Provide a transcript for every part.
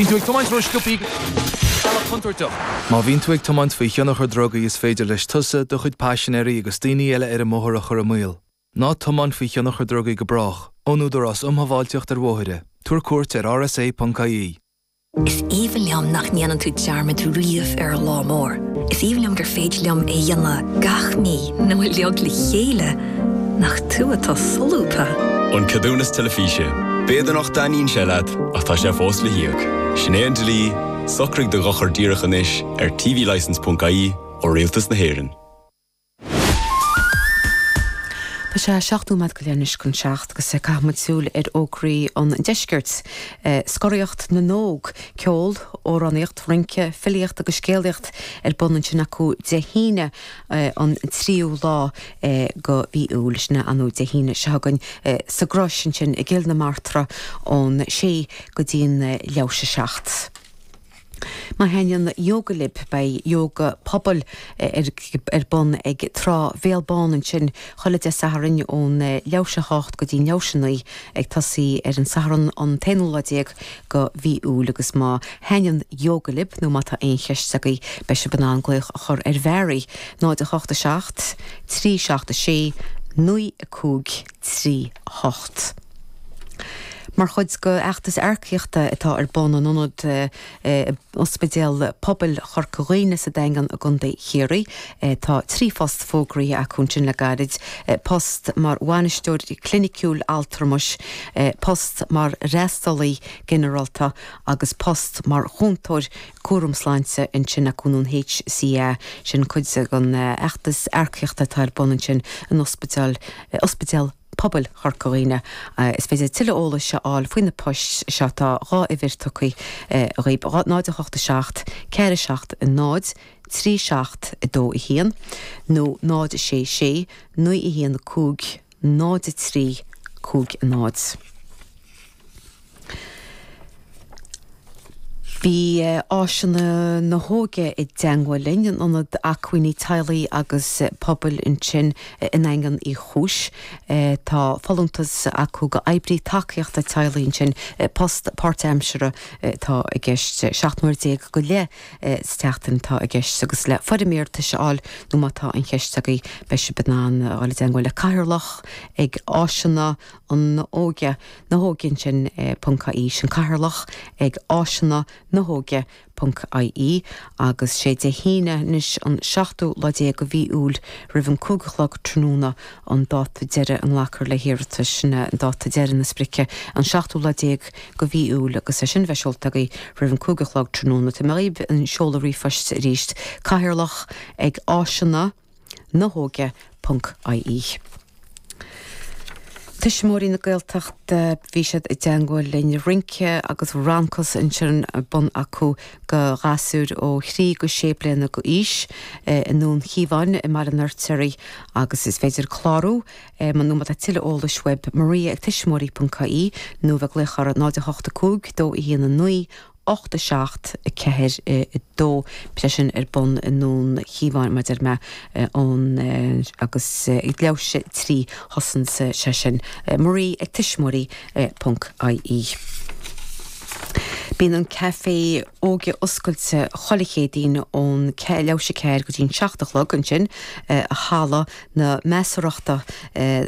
Bíonn tú ag tiomáint ró-sciobthaí bealach contúirteach. Má bhíonn tú ag tiomáint faoi thionchar drugaí is féidir leis tusa, do chuid paisinéirí agus daoine eile ar an mbóthar a chur i mbaol. Ná tiomáin faoi thionchar drugaí go brách. Ón Údarás um Shábháilteacht ar Bhóithre. Tabhair cuairt ar rsa.ie. Is aoibhinn liom nach ndéanann tú dearmad riamh ar an lá mór. Is aoibhinn liom gur féidir liom é a dhéanamh gach mí nó uilig le chéile. Nach tú atá solúbtha! An Ceadúnas Teilifíse. B'fhéidir nach dtaitníonn sé leat, ach tá sé fós le híoc. Sin é an dlí, socraigh do dhochar díreach anois ar tvlicence.ie ó Rialtas na hÉireann. Tá sé 7 nóiméad go leith anois chun 7 agus caithfidh muid súil ar fhógraí an deiscirt. Scoraíocht na nÓg, ceol, amhránaíocht, rince, filíocht agus scéalaíocht ar bun ansin acu Dé hAoine an tríú lá go mhí Iúil, sin ar ndóigh Dé hAoine seo chugainn sa gCrois ansin i gCill na Martra ón sé go dtí'n leathuair théis a 7. Má thaitníonn ióga libh, beidh ióga pobail ar bun ag Trá Bhéal Bán ansin chuile Dé Sathairn ón leathuair théis a hocht go dtí'n leathuair théis a naoi, ag tosaí ar an Satharn an t-aonú lá déag go mhí Iúil agus má thaitníonn ióga libh nó má tá aon cheist agaibh beidh sibh in ann glaoch a chur ar Mhary, 0 8 7 3 7 6 9 5 3 8. Mar chuid de fheachtas earcaíochta atá ar bun in ionad Ospidéal Pobail Chorca Dhuibhne sa Daingean i gContae Chiarraí, tá 3 phost fógraithe acu ansin le gairid, post mar bhainisteoir cliniciúil altramais, post mar fhreastalaí ginearálta agus post mar chúntóir cúram sláinte ansin acu nó an HCA. Sin cuid den fheachtas earcaíochta atá ar bun ansin in Ospidéal Ospidéal Pobail Chorca Dhuibhne. Is féidir tuilleadh eolais a fháil faoi na poist seo. Tá 2 uimhir tugtha dhaoibh, 0 8 7 4 7 0 3 7 2 1 nó 0 6 6 9 1 5 0 3 5 0. Bhí Áiseanna na hÓige i dteangmháil linn, an Ionad Acmhainní Teaghlaigh agus Pobail ansin i nDaingean Uí Chúis. Tá folúntas acu go oibrí tacaíochta teaghlaigh ansin, post páirtaimseartha atá i gceist, 17 n-uair go leith sa tseachtain atá i gceist agus le foirm iarratais a fháil nó má tá aon cheist agaibh beidh sibh in ann a dhul i dteangmháil le Cathaoirleach ag Áiseanna an Óige. na hÓige ansin ponc ie sin Cathaoirleach ag áiseanna na hóige ponc ie agus sé Dé hAoine anois an seachtú lá déag de mhí Iúil roimh an 5 a chlog tráthnóna an dáta deiridh a nglacfar le hiarratais sin é an dáta deiridh na sprice an seachtú lá déag de mhí Iúil agus é sin a bheith seolta agaibh roimh an 5 a chlog tráthnóna. Tabharfaidh mé dhaoibh an seoladh ríomhphoist arís Cathaoirleach ag áiseanna na hóige ponc ie. Tuismitheoirí na Gaeltachta, bhí siad i dteangmháil linn, rince agus rancas ansin ar bun acu go ghasúir ó thrí go sé bliana go aois i nDún Chíomháin i mBaile an Fheirtéaraigh agus is féidir clárú nó má tá tuilleadh eolais uaibh Maria ag tuismitheoirí ponc ie nó bheith ag glaoch orthu 0 8 5 2 1 9 8 7 4 2. Beidh sé sin ar bun i nDún Chíomháin, mar a deir mé, ón agus ag leathuair théis a 3 thosaíonn sé sin. Marie ag tuismitheoirí ponc ie. Bíonn an Caifé Óige oscailte chuile Chéadaoin ón leathuair théis a 4 go dtí'n 7 a chlog ansin i Halla na Measarthachta,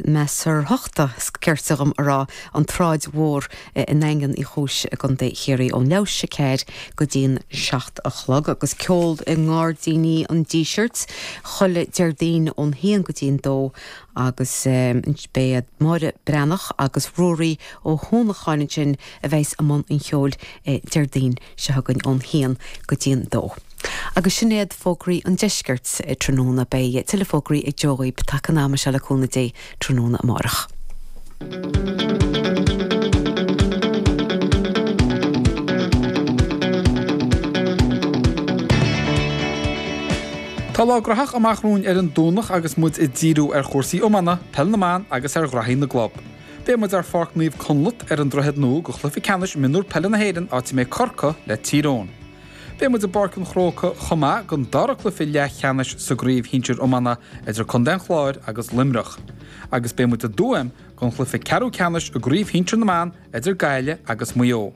Measarthachta is cirte dhom a rá, an tSráid Mhór i nDaingean Uí Chúis i gContae Chiarraí ón leathuair théis a 4 go dtí'n 7 a chlog agus ceol i nGairdíní an Dísirt chuile Déardaoin ón haon go dtí'n dó agus beidh Máire Breathnach agus Ruairí Ó hUanacháin ansin a bheas i mbun an cheoil Déardaoin seo chugainn ón haon go dtí'n dó. Agus sin iad fógraí an deiscirt tráthnóna. Beidh tuilleadh fógraí ag Joe dhaoibh taca an ama seo le cúnamh Dé tráthnóna amárach. Tá lá graitheach amach romhainn ar an Domhnach agus muid ag díriú ar chúrsaí iomána, peil na mban agus ar ghraithí na gclub. Beidh muid ar Pháirc Naomh Conleth ar an Droichead Nua go chluiche ceannais mionúr peile na hÉireann áit a mbeidh Corcaigh le Tír Eoghain. Beidh muid i bPáirc an Chrócaigh chomh maith don dara cluiche leathcheannais sa gcraobh shinsir iomána idir Contae an Chláir agus Luimneach. Agus beidh muid i dTuaim don chluiche ceathrú ceannais i gcraobh shinsir na mban idir Gaillimh agus Maigh Eo.